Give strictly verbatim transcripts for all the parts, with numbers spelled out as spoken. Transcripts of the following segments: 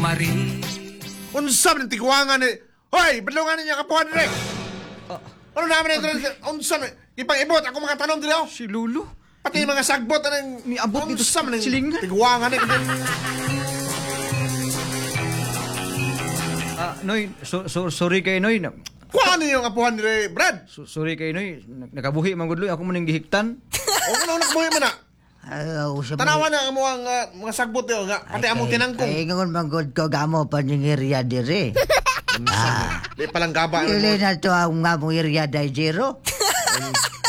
Marie. Unsa man tiguangan ni? Hoy, badlungan ninyo kapuhan dire. Ano naman ito? Unsa man? Ipang-ibot ako mga tanom dire oh. Si Lolo. Pati mga sagbot anang Niabot dito unsa man silingan. Tiguangan ni. Ah, Noy, so, so, sorry kay Noy. Na- Kuha ninyo ang apuhan dire, Brad. So, sorry kay Noy. Nakabuhi man gud Loy, ako man ning gihiktan. O ano nakbuhi man na? Ayaw sa Tanawa na ang among ah, mga sagbot diyo nga pati among tinangkong. Kay ingon man gud ko gamo paningirya dire. Ah, Di palang gaba. dili na to ang nga mong area day zero.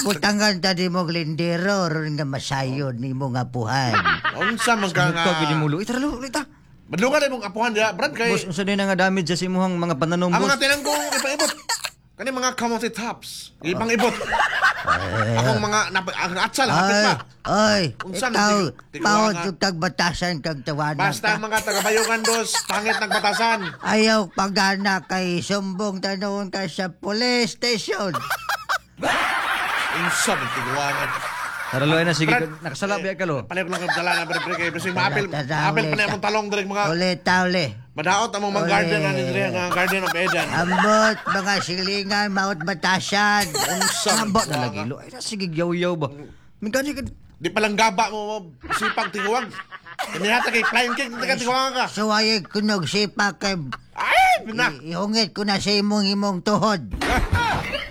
Butangan ta di mo lindero ron nga masayon nimo nga puhan. Unsa man ka nga. Ka gid mo Loy. Tara Lo, ulit ta. Badlungan imong apuhan diha, Brad kay Boss, unsa din nga damage sa imuhang mga pananom, ang boss? mga tinangkong ipang-ibot. Kani mga kamote tops. Ipang-ibot. Akong mga nap- ang atsal hapit Ay, pa. ay, Unsa man ikaw, tig- tiguangan? maot yung tagbatasan kag tawanan Basta ka. ang mga taga-Bayungan dos, pangit nagbatasan. Ayaw pagana kay sumbong tanong ka sa police station. Unsa man tiguangan. Tara Loy na sige, Brad, nakasala ba ka Lo? Palayok lang kang dala na pre kay bisig maapil. Tara, Apil pa uli na ta. among talong diri mga Uli ta, uli. madaot among mga Uli. garden ani diri nga Garden of Eden. Ambot, mga silingan, maot batasan. Unsa man Haba na lagi Lo. Ay, sige yaw-yaw ba. Migani ka Di palang gaba mo mo sipag tiguang. Kanihata kay flying kick ka tiguangan ka. Suwayag kunog sipa kay Ay, na. i- ihungit ko na sa imong imong tuhod.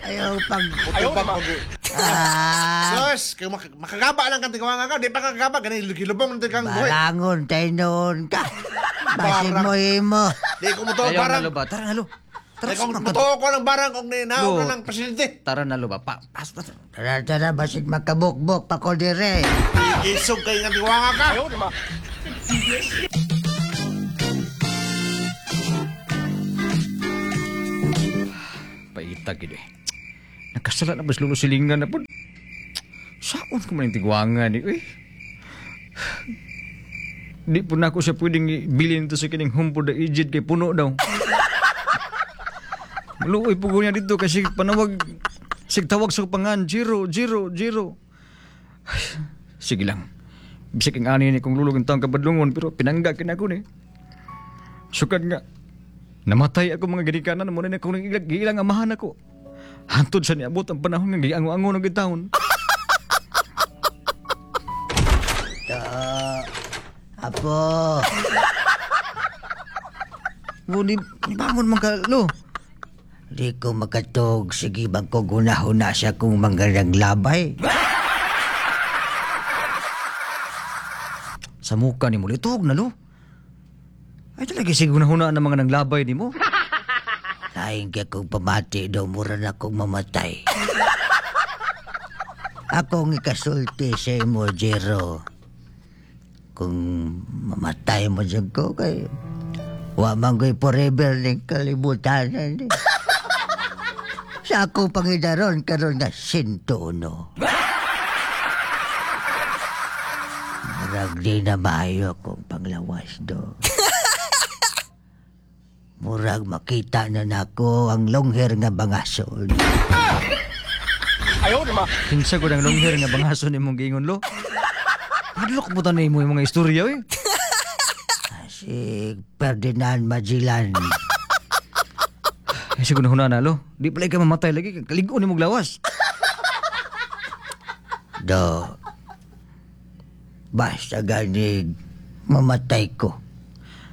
Ayaw pag... Ayaw pa. Ah, Sus, kay mak- makagaba lang kang tiguangan ka, di pa kagaba gani gilubong na kang buhi. barangon tayo noon ka. Basin Barang. mo imo. Di ko mutuo Ayaw na barang. Lo ba? Tara na Lo. Tara Di ko sa mutuo ko ng barang og ninaog Lo. na lang presidente. Tara na Lo ba? Pa, pas, pas. Tara, tara, basig makabukbok pa ko dire. Isog kay nga tiguangan ka. Ayaw ma. Paita gid eh. Nakasala na bas lulo silingan na pud. Saon ko man yung tigwangan ni eh. Di po na ako siya pwedeng ibilin to sa kining humpo da ijid kay puno daw. Maluoy po ko niya dito kasi panawag sig tawag sa pangan zero zero zero. Ay, sige lang. Bisag ang ani ni kung lulog ang taong kabadlungon pero pinangga kinako ni. Sukad nga. Namatay ako mga ginikanan mo na akong ilang, ilang amahan ako. Hantod sa niabot ang panahon nga giango-ango ng gitawon. Apo, Ngunit, bangon man ka, lo. di ko makatog. Sige bang ko gunahuna siya kung mga naglabay. Sa muka ni mo, litog na, lo. Ay talaga sige hunahuna ang mga naglabay ni mo. Laing kay kong pamati daw, mura na kong mamatay. Akong ikasulti sa imo, Jero. Kung mamatay mo dyan ko, kay wa man ko'y forever ning kalibutan. Ni. Sa akong pangidaron, karon nga sinto uno. Murag di na maayo akong panglawas do. Murag makita na nako ang longher nga bangason. Kinsa ko ng longher nga bangaso ni mong giingon, lo. Hadlok mo tanay mo yung mga istorya, eh. Si Ferdinand Magellan. Ay, sige na na, lo. Di pala ka mamatay lagi. Kaligo ni mong lawas. Do. Basta ganig, mamatay ko.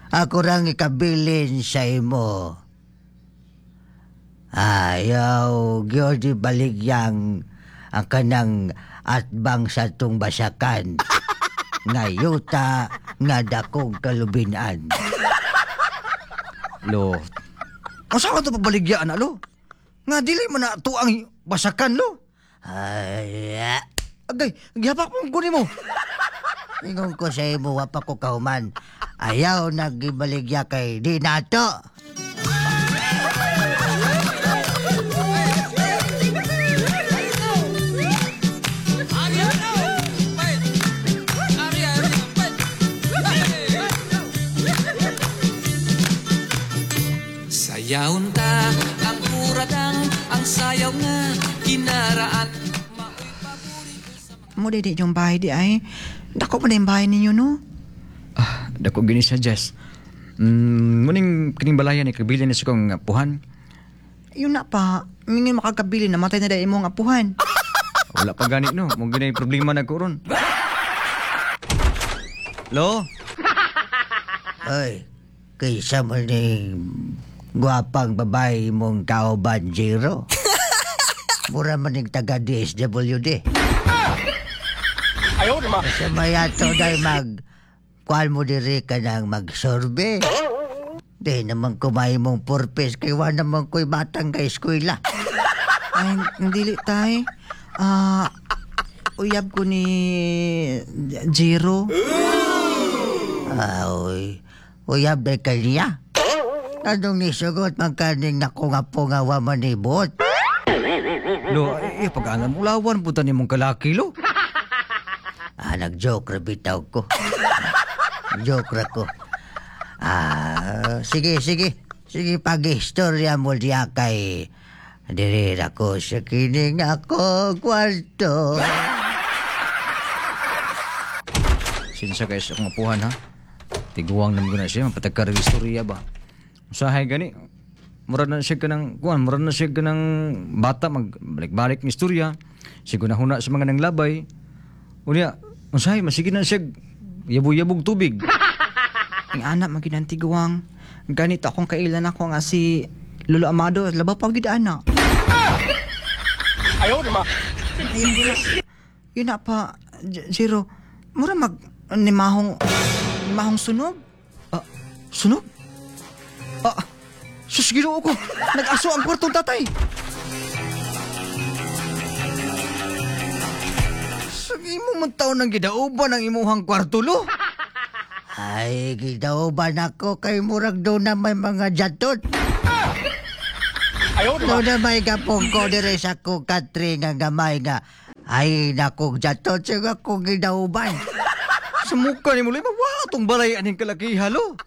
Ako rang ikabilin sa imo. Ayaw, gyud baligyang ang kanang atbang sa tong basakan. Nga yuta, nga dakong kalubinan. Lo. Ang saan ka ito pabaligyaan na, lo? Nga, dili man na ito ang basakan, lo. Ay, ah. Agay, gihapak mong kunin mo. Ingon ko sa imo, wa pa ko kahuman. Ayaw nagibaligya kay di nato. Sayaon ta ang kuradang ang sayaw nga kinaraan. Mo di di yung bahay di ay. Dako pa na yung bahay ninyo no. Ah, dako gini siya, Jess. Mm, muning kining balayan ni kabilin ni sa kong apuhan. Yun na pa, mingin makakabili, namatay na dahil imong apuhan. Wala pa gani no, mo ginay problema na ko ron. Lo, Ay, kaysa mo ni gwapang babae mong kauban, Jero. Mura man yung taga D S W D. Ayaw na ma. Sa mayato dahil mag... Kuan mo diri ka nang magsorbe. Di naman kumain mong purpose kay wa naman ko'y batang ka eskwela. Ay, dili tay. Ah, uyab ko ni Jero. Ay, uyab day kaniya. Anong nisugot man kaning nakunga-punga wa manibot? Lo, ay, pag-anam ulawan puta ni mong kalaki lo. Ah, nag-joke ra bitaw ko. Joke ra ko. Ah, sige, sige. Sige, pag-istorya mo diya kay diri ra ko sa kining ako kwarto. Sinsa kay sa akong apuhan ha. Tiguang naman ko na siya, mapatagkar ang istorya ba. Usahay gani. Murad na siya ka ng, kuan, murad na siya ka ng bata, magbalik-balik ng istorya. Sigo na huna sa mga nanglabay. Unya, usahay, masige na siya yabog-yabog tubig. Ang anak maginantiguang. Ganito akong kailan ako nga si Lolo Amado, labaw pa gid ana. Ayaw na ma. Yun na pa, J- Jero, mura mag nimahong nimahong sunog. Ah, sunog? Ah, sus, Ginoo ko. Nag-aso ang kwartong tatay. Sa imo man taon ng gidauban ang imuhang kwarto, lo. Ay, gidauban ako kay murag doon na may mga jatot. Ayaw na ma. Doon na may gapong ko dire sa ko katri nga gamay nga. Ay, nakong jatot sa akong gidauban. Sa mukha ni mo, lo, wa atong balay aning kalakiha, lo.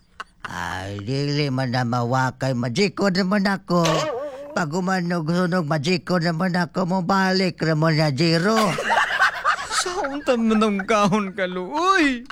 Ay, dili man na mawakay. Majiko naman ako. Pag umanog sunog, majiko naman ako. Mabalik naman na, Jero. Sa unta man ang kahon ka, lo. Uy!